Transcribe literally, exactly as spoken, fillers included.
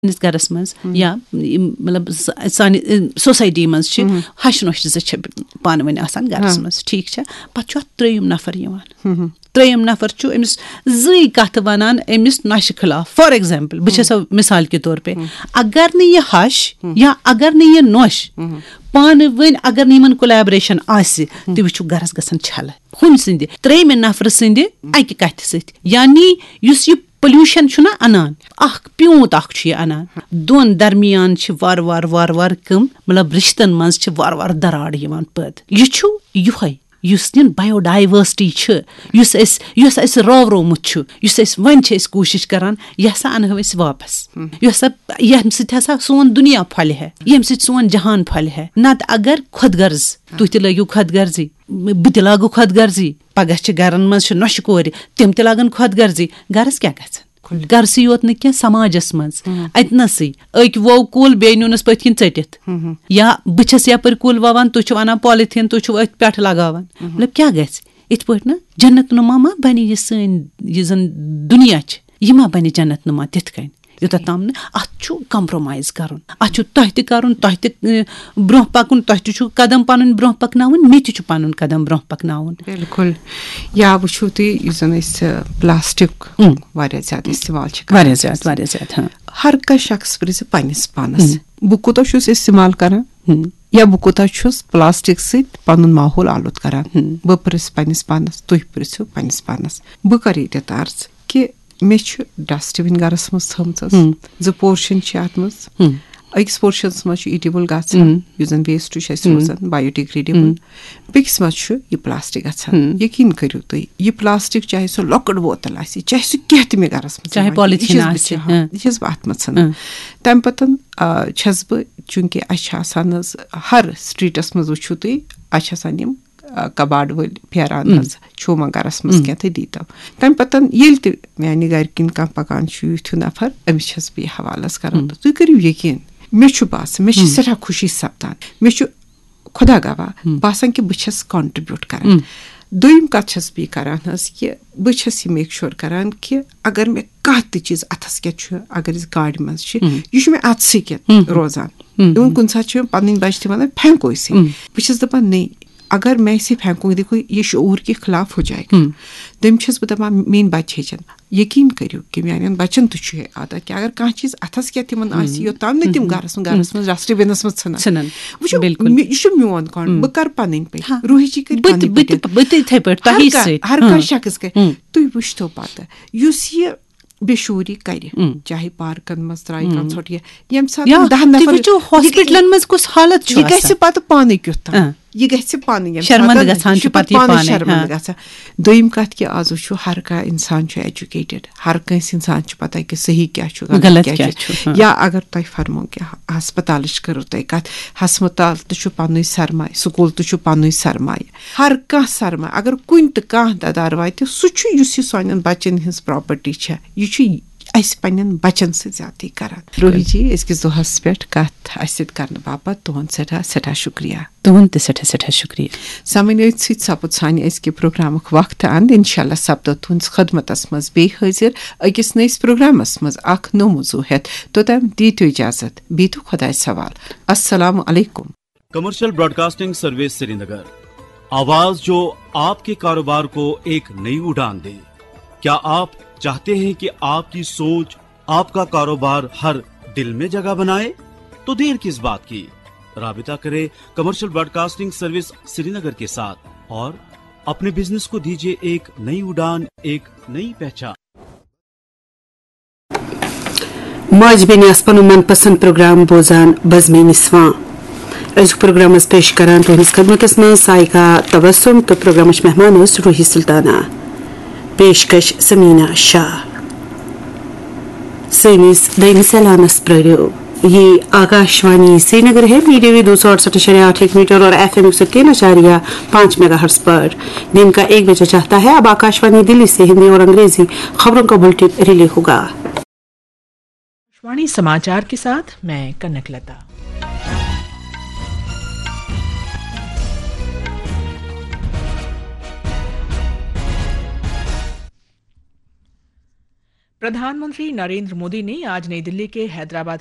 سٲنِس گَرَس منٛز یا یِم، مطلب، س-، سانہِ، ٲ، سوسایٹی منٛز چھِ ہَش نۄشہِ زٕ چھِ پانہٕ ؤنۍ آسان گَرَس منٛز، ٹھیٖک چھا؟ پَتہٕ چھُ اَتھ ترٛیٚیِم نَفَر یِوان۔ ترٛیٚیِم نَفَر چھُ أمِس زٕے کَتھٕ وَنان أمِس نۄشہِ خلاف۔ For example، بہٕ چھَسو مِثال کے طور پہ، اگر نہٕ یہِ ہَش یا اگر نہٕ یہِ نۄش پانہٕ ؤنۍ، اگر نہٕ یِمَن کولیبریشن آسہِ، تُہۍ وٕچھِو، گَرَس گژھن چھَلہٕ ہُمہِ سٕنٛدِ، ترٛیٚیِمہِ نَفرٕ سٕنٛدِ اَکہِ کَتھِ سۭتۍ۔ یعنی یُس یہِ پولیوشن چھُنہ اَنان، اَکھ پیوٗنت اَکھ چھُ یہِ اَنان۔ دۄن درمیان چھِ وارٕ وارٕ وارٕ وارٕ کٕم، مطلب، رِشتَن منٛز چھِ وارٕ وارٕ دَراڑ یِوان پٲدٕ۔ یہِ چھُ یِہوٚے، یُس یہِ بایو ڈایورسٹی چھِ، یُس اَسہِ، یُس اَسہِ راورومُت چھُ، یُس أسۍ وۄنۍ چھِ أسۍ کوٗشِش کَران، یہِ ہسا اَنہو أسۍ واپَس۔ یہِ ہسا، ییٚمہِ سۭتۍ ہسا سون دُنیا پھۄلہِ ہے، ییٚمہِ سۭتۍ سون جہان پھۄلہِ ہے۔ نَتہٕ اگر خۄد غرض، تُہۍ تہِ لٲگِو خۄد غرضی، بہٕ تہِ لاگہٕ خۄد غرضی، پگاہ چھِ گَرَن منٛز چھِ نۄشہِ کورِ، تِم تہِ لاگَن خۄد غرضی، گَرَس کیٛاہ گژھِ؟ گَرسٕے یوت نہٕ کینٛہہ، سماجَس منٛز، اَتہِ نَسٕے۔ أکۍ ووو کُل، بیٚیہِ نیوٗنَس پٔتھۍ کِنۍ ژٔٹِتھ۔ یا بہٕ چھَس یَپٲرۍ کُل وَوان، تُہۍ چھِو اَنان پالیٖتھیٖن، تُہۍ چھِو أتھۍ پٮ۪ٹھ لَگاوان۔ مطلب، کیٛاہ گژھِ؟ یِتھ پٲٹھۍ نہٕ جنت نما ما بَنہِ یہِ سٲنۍ، یہِ زَن دُنیا چھِ، یہِ ما بَنہِ جنت نما تِتھ کٔنۍ؟ یوٚتَتھ تام نہٕ اَتھ چھُ کمپرومایز کَرُن، اَتھ چھُ تۄہہِ تہِ کَرُن، تۄہہِ تہِ، اَ، برٛونٛہہ پَکُن، تۄہہِ تہِ چھُ قدم پَنُن برٛونٛہہ پَکناوُن، مےٚ تہِ چھُ پَنُن قدم برٛونٛہہ پَکناوُن۔ بِلکُل۔ یا وٕچھِو تُہۍ، یُس زَن أسۍ، ٲ، پلاسٹک واریاہ زیادٕ استعمال چھِ کران۔ واریاہ زیادٕ، واریاہ زیادٕ، ہاں۔ ہر کانٛہہ شخص پرٛژھِ پننِس پانس، بہٕ کوٗتاہ چھُس استعمال کران یا بہٕ کوٗتاہ چھُس پلاسٹک سۭتۍ پنُن ماحول آلود کران۔ بہٕ پرٛژھٕ پننِس پانس، تُہۍ پرٛژھِو پننِس پانس۔ بہٕ کرٕ ییٚتٮ۪تھ عرض کہِ مےٚ چھُ ڈسٹ بِن گرس منٛز تھٲمٕژ، زٕ پورشن چھِ اتھ منٛز۔ أکِس پورشنس منٛز چھُ ایڈیبل گژھان، یُس زن ویسٹ چھُ اَسہِ روزان، بایو ڈیگریڈیبل۔ بیٚکِس منٛز چھُ یہِ پلاسٹک گژھان۔ یقین کٔرِو تُہۍ، یہِ پلاسٹک، چاہے سُہ لۄکٕٹ بوتل آسہِ، چاہے سُہ کینٛہہ تہِ مےٚ گرس منٛز چاہے یِوان، یہِ پالیٖتھیٖن چھَس بہٕ آسہِ، ژھٕنان، یہِ چھَس بہٕ اتھ منٛز ژھٕنان۔ تمہِ پتہٕ، آ، چھَس بہٕ، چوٗنٛکہِ اَسہِ چھِ آسان حظ ہر سٹریٹس منٛز، وٕچھِو تُہۍ، اَسہِ چھِ آسان یِم، آ، کباڈ وٲلۍ پھیران حظ، چھُو ما گرس منٛز کینٛہہ تہٕ دیٖتو۔ تمہِ پتہٕ ییٚلہِ تہِ میانہِ گرِ کِنۍ کانٛہہ پکان چھُ یُتھ ہیوٗ نفر، أمِس چھَس بہٕ یہِ حوالس کران۔ تُہۍ کٔرِو یقین، مےٚ چھُ باسان، مےٚ چھِ سٮ۪ٹھاہ خوشی سپدان۔ مےٚ چھُ خۄدا گواہ باسان کہِ بہٕ چھَس کانٹرٛبیوٗٹ کران۔ دوٚیِم کَتھ چھَس بہٕ یہِ کران حظ کہِ بہٕ چھَس یہِ میک شور کران کہِ اگر مےٚ کانٛہہ تہِ چیٖز اَتھَس کٮ۪تھ چھُ، اگر أسۍ گاڑِ منٛز چھِ، یہِ چھُ مےٚ اَتھسٕے کٮ۪تھ روزان۔ اِوٕن کُنہِ ساتہٕ چھِ مےٚ پَنٕنۍ بَچہِ تہِ وَنان، "پھینٛکو أسۍ۔" بہٕ چھَس دَپان، "نہ، اگر میں اسے پھینکوں، دیکھو، یہ شعور کے خلاف ہو جائے گا۔" دوٚیِم چھَس بہٕ دَپان، میٛٲنۍ بَچہِ ہیٚچھَن۔ یقین کٔرِو کہِ میانٮ۪ن بچن تہِ چھُ یہِ عادت کہِ اگر کانٛہہ چیٖز اَتھس کٮ۪تھ تِمن آسہِ، یوٚتام نہٕ تِم گرس منٛز، گرس منٛز ڈسٹ بِنس منٛز ژھٕنن۔ ژھٕنن۔ وٕچھِو، بِلکُل۔ مےٚ، یہِ چھُ میون کانٛہہ، بہٕ کرٕ پنٕنۍ پٲٹھۍ۔ ہاں۔ روحی جی کرِ بہٕ تہِ، پنٕنۍ بہٕ تہِ، پٲٹھۍ۔ بہٕ تہِ یِتھَے پٲٹھۍ، ہر تۄہی کانٛہہ، سۭتۍ۔ ہر کانٛہہ ہاں۔ شخص کرِ۔ ہُم۔ تُہۍ وٕچھتو پتہٕ، یُس یہِ بے شعوٗری کرِ، ہُم۔ چاہے پارکن منٛز ترٛایہِ کانٛہہ ژھۄٹھ یا ییٚمہِ ساتہٕ یا تِم دَہ تُہۍ نفر، وٕچھِو، یہِ، ہاسپٹلن منٛز کُس حالت چھُ یہِ گژھِ آسان۔ پتہٕ پانے کیُتھ تام۔ ہاں۔ یہِ گژھِ پانہٕ ییٚمہِ شرمندٕ ساتہٕ، گژھان یہِ چھُ چھُ پتہٕ یہِ پانَے پانے، شرمندٕ ہاں۔ گژھان۔ دوٚیِم کَتھ کہِ آز وٕچھِو، ہر کانٛہہ اِنسان چھُ ایجوکیٹڈ، ہر کٲنٛسہِ اِنسان چھُ پَتہ کہِ صحیح کیٛاہ چھُ، غلط غلط کیٛاہ کیٛاہ چھُ۔ چھُ، ہاں۔ یا اگر تۄہہِ فرمو کہِ ہسپتالٕچ کٔرٕو تۄہہِ کَتھ، ہسپتال تہِ چھُ پَنُن سرمایہِ، سکوٗل تہِ چھُ پَنُن سرمایہِ۔ ہر کانٛہہ سرمایہِ، اگر کُنہِ تہِ کانٛہہ دَدار واتہِ، سُہ چھُ، یُس یہِ سانٮ۪ن بَچَن ہٕنٛز پراپرٹی چھےٚ، یہِ چھُ اَسہِ پننٮ۪ن بَچَن سۭتۍ زیادتی کران۔ روحی جی، أزکِس دۄہَس پٮ۪ٹھ کَتھ اَسہِ سۭتۍ کرنہٕ باپتھ تُہُنٛد سٮ۪ٹھاہ، سٮ۪ٹھاہ شُکریہ۔ تُہُنٛد تہِ سٮ۪ٹھاہ، سٮ۪ٹھاہ شُکریہ۔ سامعیٖن، أتھۍ سۭتۍ سپُد سانہِ أزکہِ پروگرامُک وقت اند۔ انشاءاللہ سپدو تُہٕنٛدِس خدمتس منٛز بیٚیہِ حٲضِر أکِس نٔیِس پروگرامس منٛز اکھ نوٚو موضوع ہٮ۪تھ۔ توٚتام دیٖتو اجازت، بیٖتو خۄدایَس حوال۔ السلام علیکم۔ کمرشل براڈکاسٹنگ سروس سرینگر، آواز جو آپ کے کاروبار کو ایک نئی اڑان دے۔ کیا آپ چاہتے ہیں کہ آپ کی سوچ، آپ کا کاروبار ہر دل میں جگہ بنائے؟ تو دیر کس بات کی؟ رابطہ کریں کمرشل براڈکاسٹنگ سروس سرینگر کے ساتھ اور اپنے بزنس کو دیجیے ایک نئی اڑان، ایک نئی پہچان۔ ماجہِ بیٚنہِ آسہٕ پنُن من پسند پروگرام بوزان بزمِ نسواں۔ أزیُک پروگرام ٲس پیش کران تُہنٛدِس خدمتس منٛز سائقہ تبسم تہٕ پروگرامٕچ مہمان ٲس روحی سلطانہ۔ پیشکش سمیٖنہ شاہ۔ سٲنِس دوٚیمِس اعلانس پرٛٲرِو۔ یہ آکاشوانی سرینگر ہے، میڈیم ویو دو سو اڑسٹھ اعشاریہ آٹھ ایک میٹر اور ایف ایم ایک سو تین اعشاریہ پانچ میگا ہرٹز پر۔ دن کا ایک بجے چڑھتا ہے۔ اب آکاشوانی دلی سے ہندی اور انگریزی خبروں کا بلٹن ریلے ہوگا۔ आकाशवाणी समाचार के साथ मैं कनक लता। प्रधानमंत्री नरेंद्र मोदी ने आज नई दिल्ली के हैदराबाद